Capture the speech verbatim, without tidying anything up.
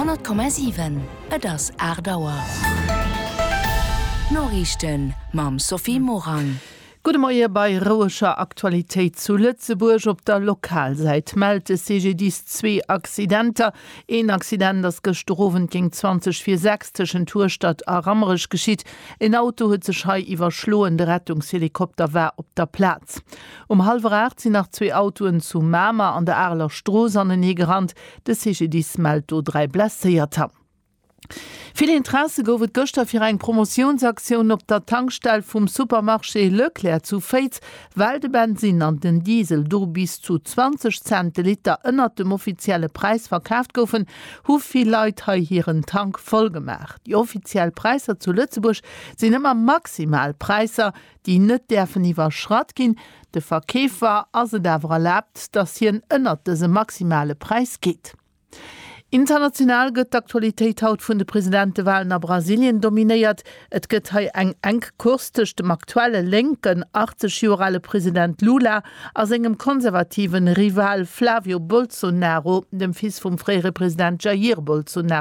Honnert Komma siwen, Et ass aacht Auer. D'Noriichten mam Sophie Morang. Gudde Moie bei roueger Aktualitéit zu Lëtzebuerg. Op der Lokalsäit mellt de CGDIS zwee Accidenter. Een Accident ass gëschter Owend géint zwanzeg vir sechs tëschent Hueschtert a Rammerech geschitt. En Auto huet sech hei iwwerschloen, de Rettungshelikopter war op der Plaz. Um hallwer aacht sinn nach zwee Autoen zu Mamer an der Areler Strooss anenee gerannt. De CGDIS mellt do dräi Blesséierter. Vill Interesse gouf et gëschter fir eng Promotiounsaktioun op der Tankstell vum Supermarché Leclerc zu Féiz. Well de Bensinn an den Diesel do bis zu zwanzeg Cent de Liter ënnert dem offizielle Präis verkaaft goufen, hu vill Leit hei hiren Tank voll gemaach. Déi offiziell Präisser zu Lëtzebuerg sinn ëmmer maximal Präisser, déi net däerfen iwwerschratt ginn. De Verkeefer ass et awer erlaabt, datt hien ënnert dëse maximale Präis geet. International gëtt d'Aktualitéit haut vun de Presidentewalen a Brasilien dominéiert. Et gëtt hei eng enk Course tëscht dem aktuelle lénken, achtzeg Joer ale President Lula a sengem konservativen Rival Flavio Bolsonaro, dem Fils vum fréiere President Jair Bolsonaro.